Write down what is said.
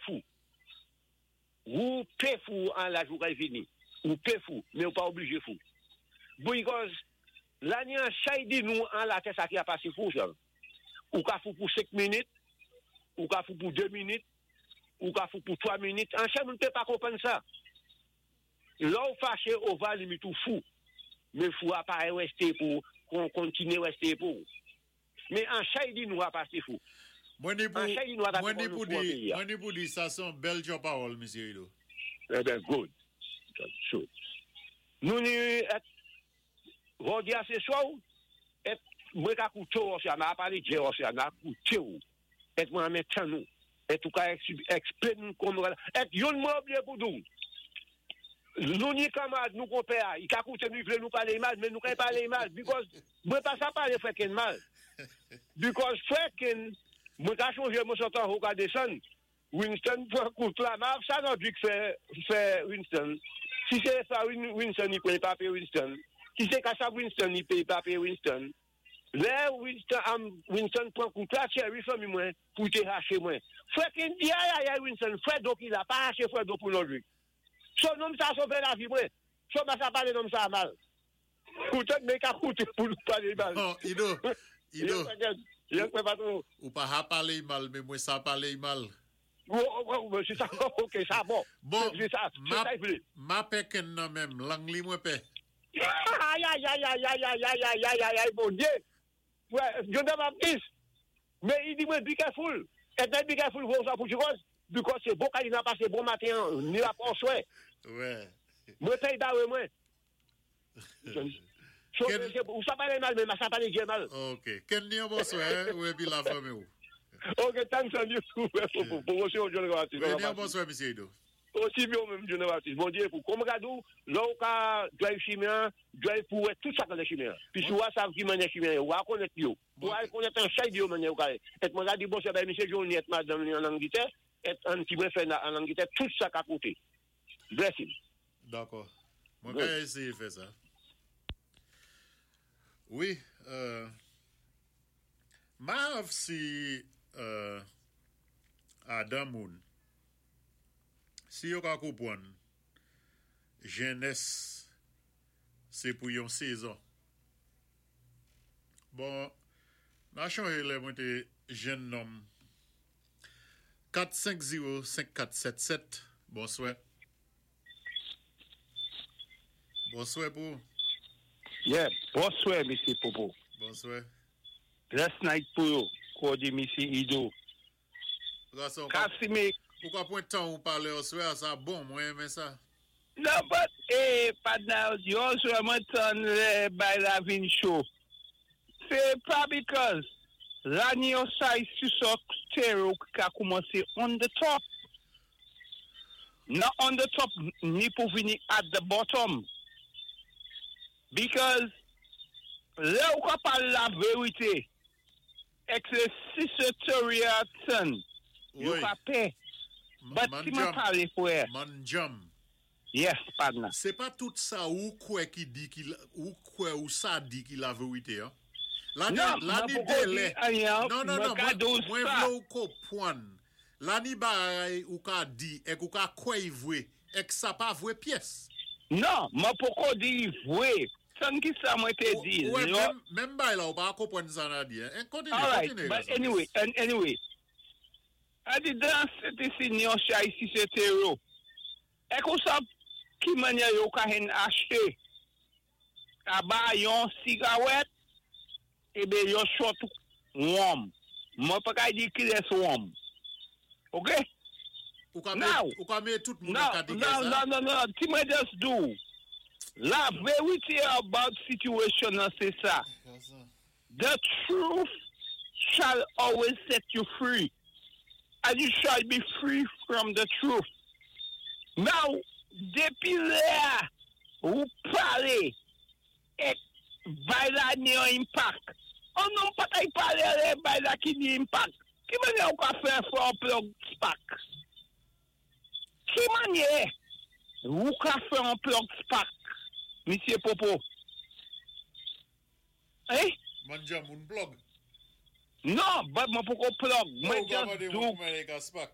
fou. Ou pé fou an laj ou kay vini. Ou pé fou, men ou pa oblije fou. Because la ni an chay di nou an latè sa ki a pase fou sa. Ou ka fou pou 5 minit, ou ka fou pou 2 minit, ou ka fou pou 3 minit. An chay moun pé pa konpwann sa. Lè ou fache over limit ou fou. Men fou a pa reste pou kontinye reste pou. Men an chay di nou a pase fou. Mwen ni pou, An chay di nou a ta mwen ni nou pou fou an di, peyi a. mwen ni pou di sa son bèl djò pawòl, Misye Ido. Eh ben, good. So, nou ni et vòdi a se swa ou, et mwen ka koute ou osya, ma pale dje osya, ma koute ou. Et mwen amen tan nou. Et ou ka explain kon et yon mwen oubliye pou dou. Nou ni kamarad nou konpè a, i ka koute nou, i vle nou pale mal, men nou ka pale mal, because mwen pa sa pale frè Ken mal. Because frè Ken, mwen ka chonje mwen sotan ou ka desann, Winston pran kout la, ma sa nan dik fè Winston. Si se sa Winston i peye pa peye Winston. Si se ka sa Winston i peye pa peye Winston. Lè Winston, Winston pran kout la, Cherry fanmi mwen pou te hache mwen. Frè Ken di ay ay ay Winston, frè do ki la, pa hache frè do pou non lui. So nonm sa sove lavi mwen. So ma sa pale nonm sa mal. Koute, men ka koute pou nou pale mal. Non, Ido, Ido, Yes, frè Ken. Yes, frè patron. Ou pa ha pale mal, men mwen sa pale mal. Oh, c'est ça, ok, ça bon. Bon, C'est ça, c'est ma, ça, il voulait. ma pè Ken nan menm, lang li mwen pè. Aïe, aïe, aïe, aïe, aïe, aïe, aïe, aïe, aïe, aïe, aïe, bon Dieu. Ouais, John Baptiste. Mais il dit, moi, be careful. Et then be careful, vous ça pour because, because c'est bon quand il n'a passé bon matin, ni la soin. Ouais. Moi, paye bah, ouais, moi. So, ou ça parle mal, mais ça parle bien mal. Ok. Ken ni an bonswè, hein, ou epi la fanmi ou. Ok, thanks on you pour monsieur John Baptiste. Wi, ni an bonswè, Misye Ido. Aussi bien même John Baptiste. Bon Dieu, pour comme gadou, là où ka drive chemin, drive pour tout ça dans le chemin. Puis si vous savez qui mène chemin, ou à connaître yo. Ou à connaître un chay de yo mène ou ka. Et moi dit bon c'est ben monsieur Johnny et madame en Angleterre, et un petit mwen fait en Angleterre tout ça à côté. Bless him. Dakò. Mwen ka eseye fè sa. Wi, ma av si Adam moun, si yo ka konpwann jenès se pou yon sezon. Bon, na chanje lè mwen te jenn nonm. 4 5 0 5 4 7 7, bonswè. Bonswè pou. Yeah, bonswè, Misye Popo. Bonswè. Bless night pou yo, kòde Misye Ido. Gason, Kasime. Ou ka pran tan ou pale oswè a, sa bon, mwen renmen sa. Non, but, patna, yo oswè mwen tan lè bay la vin cho. Se pa because la ni yo say sisok stereo ki ka koumanse on the top. Nan on the top, ni pou vini at the bottom. Because lè ou ka pale la verite, ek se si se teori a ten, yo ka pe. But si mwen pale fwe. Man jam. Yes, partner. Se pa tout sa ou kwe ki di ki ou kwe ou sa di ki la verite, hein? La ni, Non, la mwen ni poko di dele. anyen, Non, non, mwen non, ka mwen, do mwen sa. vle ou konpwann. La ni bagay ou ka di ek ou ka kwe i vwe, ek sa pa vwe pyès. Non, mwen poko di vwe. San ki sa mwen te di. Ou, ouais, menm bay la ou pa konpwann sa na di. Hein? Kontinye, All right, kontinye. But anyway, and anyway. A di dan se te si nyon chay si se tero. Ek ou sa ki manye yo ka hen achete aba yon sigaret, ebe yon shot wom. Mwen pa ka di ki les wom. Ok? Ou ka Now, met, ou ka met tout moun No, an kategori no, sa? No, no. Ti mwen just do. La verite about situation nan se sa. The truth shall always set you free. And you shall be free from the truth. Now, depi lè ou pale ek bay la ni yon impact. On non pa kay pale lè bay la ki ni impact. Ki manye ou ka fè fè an plug spark? Ki manye ou ka fè an plug spark, Misye Popo? Eh? Man jam moun plug. Non, but mwen poko plug. Mwen Ou ka just mande do moun mwen ka spark.